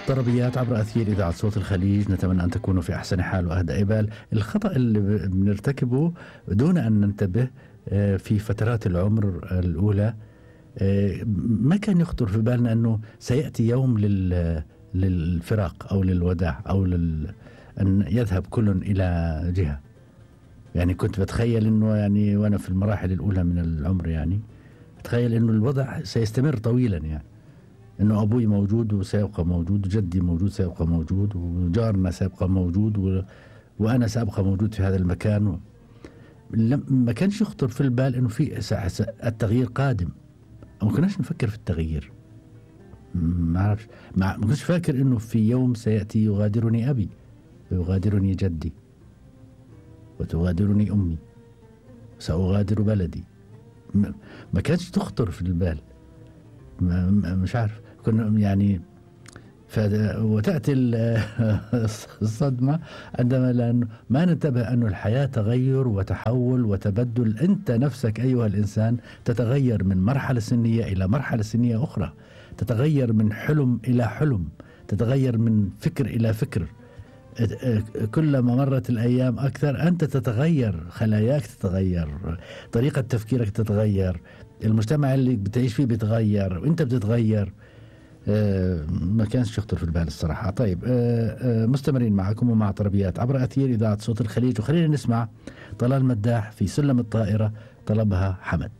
طربيات عبر أثير إذاعة صوت الخليج، نتمنى أن تكونوا في أحسن حال وأهدى بال. الخطأ اللي بنرتكبه دون أن ننتبه في فترات العمر الأولى، ما كان يخطر في بالنا أنه سيأتي يوم للفراق أو للوداع أو أن يذهب كل إلى جهة. يعني كنت بتخيل أنه يعني وأنا في المراحل الأولى من العمر يعني بتخيل أنه الوضع سيستمر طويلا، يعني أنه أبوي موجود وسيبقى موجود، وجدي موجود سيبقى موجود، وجارنا سيبقى موجود، وأنا سأبقى موجود في هذا المكان. ما كانش يخطر في البال أنه في التغيير قادم، أو ما كناش نفكر في التغيير. ما أعرفش، ما كنتش فاكر أنه في يوم سيأتي يغادرني أبي ويغادرني جدي وتغادرني أمي، سأغادر بلدي. ما كانش تخطر في البال. مش عارف، كنا يعني وتأتي الصدمة عندما لأنه ما ننتبه أن الحياة تغير وتحول وتبدل. أنت نفسك أيها الإنسان تتغير من مرحلة سنية إلى مرحلة سنية أخرى، تتغير من حلم إلى حلم، تتغير من فكر إلى فكر. كلما مرت الأيام أكثر أنت تتغير، خلاياك تتغير، طريقة تفكيرك تتغير، المجتمع اللي بتعيش فيه بيتغير وانت بتتغير. ما كانش يخطر في البال الصراحة. طيب، مستمرين معكم ومع طربيات عبر أثير إذاعة صوت الخليج، وخلينا نسمع طلال مداح في سلم الطائرة، طلبها حمد.